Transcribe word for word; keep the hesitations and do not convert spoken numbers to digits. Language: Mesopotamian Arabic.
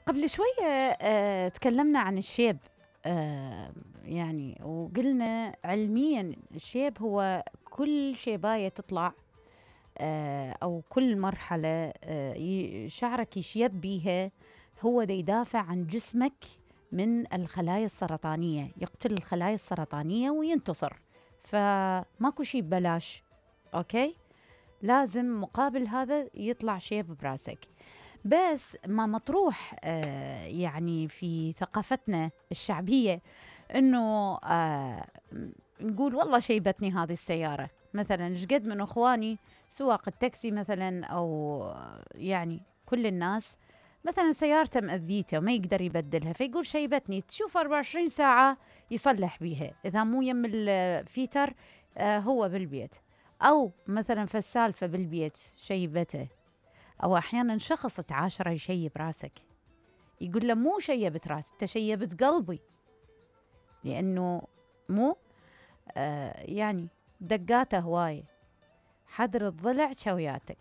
قبل شوية آه تكلمنا عن الشيب. آه يعني وقلنا علميا الشيب هو كل شيباية تطلع، آه أو كل مرحلة آه شعرك يشيب بيها، هو دا يدافع عن جسمك من الخلايا السرطانية، يقتل الخلايا السرطانية وينتصر. فماكو شي ببلاش، أوكي؟ لازم مقابل هذا يطلع شيب براسك. بس ما مطروح آه يعني في ثقافتنا الشعبية انه آه نقول والله شيبتني هذه السيارة. مثلا شقد من اخواني سواق التاكسي مثلا، او يعني كل الناس مثلا سيارته مأذيته وما يقدر يبدلها، فيقول شيبتني، تشوف أربعة وعشرين ساعة يصلح بيها، اذا مو يم الفيتر آه هو بالبيت، او مثلا في السالفة بالبيت شيبته. أو أحياناً شخص تعاشره يشيب راسك، يقول له مو شيبت راسك، أنت شيبت قلبي، لأنه مو آه يعني دقاته هواية، حدر الضلع شوياتك.